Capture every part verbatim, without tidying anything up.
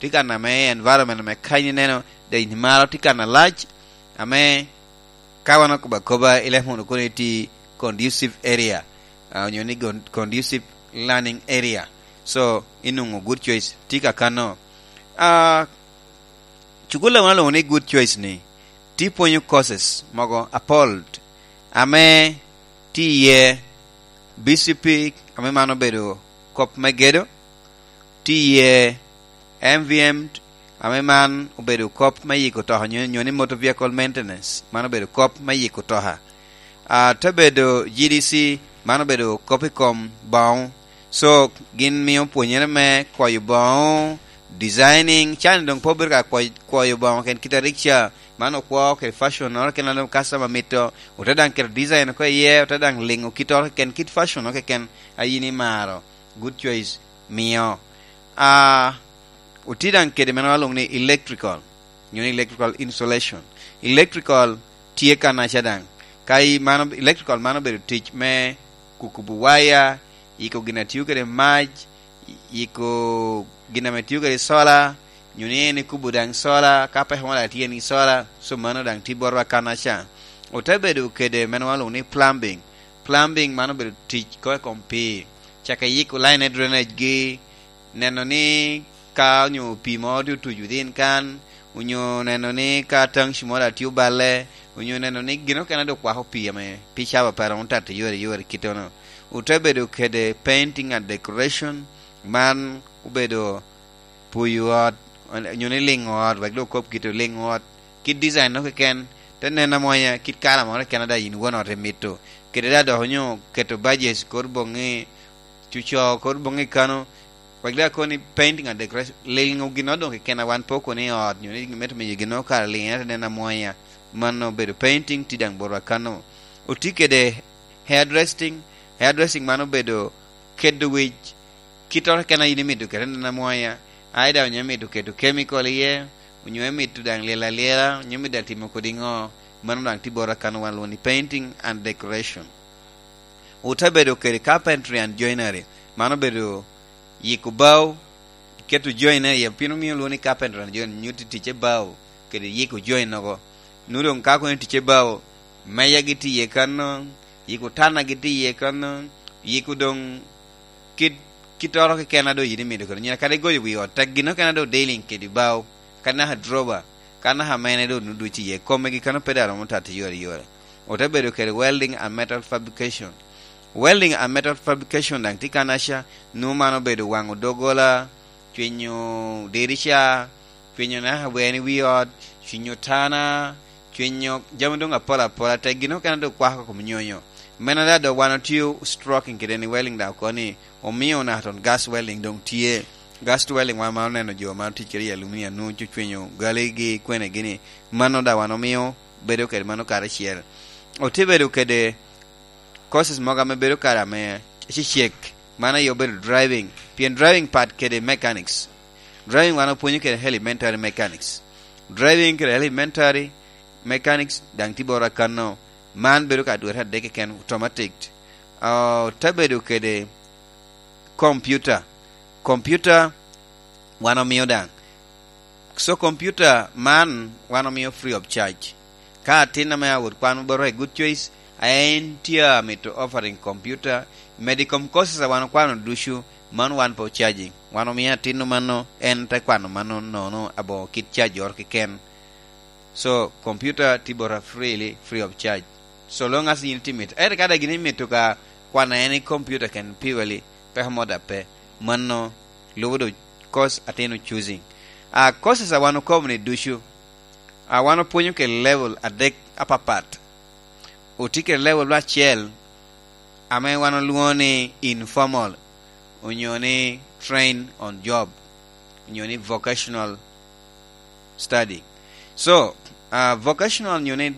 tye kan ame environment ame kany ineno, dec maro tye kan alac, ame ka wan okobo akoba, ileko mono kono iti conducive area, ah, onyo ni con-, conducive learning area. So, inwoŋo good choice tye kakano. Ah, cukul a wan olwoŋo ni good choice ni, tye pwonyo courses mogo apol ame tye iye B C P, ame man obedo kop me gedo, tye iye M V M, ame man obedo kop me yiko toka, nyo, nyo ni motor vehicle maintenance, man obedo kop me yiko toka. Ah, te bedo G D C, man obedo kop i kom boŋo. So, gin mio pwonyere me kwoyo boŋo, designing, can doŋ pe obedo ka kwo-, kwoyo boŋo ken kite a rikca, man okwo kede fashion-noro keken a doŋ customer mito, ote daŋ keto design oko iye, ote daŋ liŋo kittoro keken, kit fashion-noro keken a yin imaro. Good choice, mio. Ah, otye daŋ kede meno alwoŋo ni electrical, nyo ni electrical insulation. Electrical tye kanaca daŋ. Ka i mano, electrical mano obedo tic me kukubo waya, yiko gin a tio kede mac, yiko gin ame tio kede sola, nyo ni en ikubo daŋ sola, ka peko moro a tye en i sola, so mano daŋ tye botwa kanaca. Ote bedo kede meno alwoŋo ni plumbing. Plumbing mano obedo tic ko i kom pii. Caka yiko line drainage gi, neno ni ka onyo pii mo tye otuc within kan, onyo neno ni ka tanki moro a tye oballe, onyo neno ni gin okene dok kwako pii ame pe cabo pe romo tato yore yore kittono. Ote bedo kede painting and decoration, man obedo puyo ot, onyo ni liŋo ot, wek dok okob kit oliŋo ot, kit design-no keken, te nen amwonya, kit kala moro keken a daŋ in won ot imito. Kede daŋ dok onyo keto budget kor boŋŋi, cuco kor boŋŋi kano, wek daŋ akoni painting and decoration, liŋo ginnoro doŋ keken a wan pe okoni i ot, nyo ni mito miyo ginnoro kara liŋ, ento nen amwonya. Mano obedo painting, tye daŋ botwa kano. Otye kede hairdressing, hairdressing man obedo kedo wic, kittoro keken a yin imito kede nen amwonya, either onyo imito keto chemical iye, onyo imito daŋ lyel alyela, onyo imito daŋ timo kodi ŋo, mano daŋ tye botwa kano wan lwongo ni painting and decoration. Ote bedo kede carpentry and joinery, mano obedo yiko bao, iketo joinery iye, pien omio lwongo ni carpentry and joinery, nyutti ticce bao kede yiko join-nogo. Nwoŋo doŋ ka kono ticce bao, meja gi tye iye kano, yiko tana gi tye iye kano, yiko doŋ kit, kittoro keken a doŋ yin imito kede nyina, kadi goyo wi ot, tek gin okene a doŋ dealing kede bao, kadi naka drawer, kadi naka mene doŋ nwoŋo duc iye, kome gi kano pe daŋ romo tato yore yore. Ote bedo kede welding and metal fabrication. Welding and metal fabrication daŋ tye kanaca, nwoŋo man obedo waŋo doggola, cwenyo dirica, cwenyo naka wer i wi ot, cwenyo tana, cwenyo jami doŋ apol apola, tek gin okene doŋ kwako kom nyonyo. Meno daŋ dok wan otio stroking kede ni welding daŋ oko ni omio naka ton gas welding doŋ tye. Gas welding wan ma oneno jo ma otic kede i aluminium nwoŋo cwenyo galigi kwene gini, mano daŋ wan omio bedo kede mano karacel. Otye bedo kede courses mogo ame bedo kare ame cecek, mano aye obedo driving, pien driving pat kede mechanics. Driving wan opwonyo kede elementary mechanics. Driving kede elementary mechanics daŋ tye botwa kano, man bedo ka dwete adek keken, automatic. Ah, te bedo kede computer. Computer wan omio daŋ. So, computer man wan omio free of charge. Ka atin ame awot kwan bot i Good Choice, a en tye amito offering computer, medo i kom courses a wan okwano ducu, man wan pe ocajing. Wan omio atin-nu mano, en te kwano mano nono aboŋo kit cajoro keken. So, computer tye bota freely, free of charge. So long as yin itye mito. Ento ka daŋ gin imito ka kwana en i computer ken purely, peko mo daŋ pe. Mano lubo do course atino choosing. A courses a wan okobo ni ducu, a wan opwonyo kede level adek apapat. Otye kede level acel ame wan olwoŋo ni informal, onyo ni train on job, onyo ni vocational study. So, ah, vocational onyo ni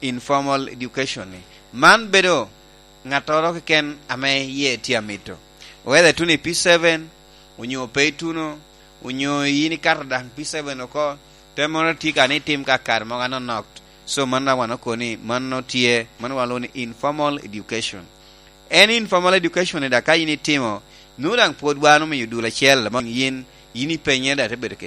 informal education ni, man bedo ŋattoro keken ame yie tye amito. Whether ituno i P seven, onyo pe ituno, onyo yin ikato daŋ P seven oko, te moro tye ka ni itim ka kare mogo anonok. So, man daŋ wan okobo ni mano tye, mano wan olwoŋo ni informal education. En informal education ni daŋ ka yin itimo, nwoŋo daŋ pwod wan omiyo dul acel, ame yin, yin ipenye daŋ te bedo kede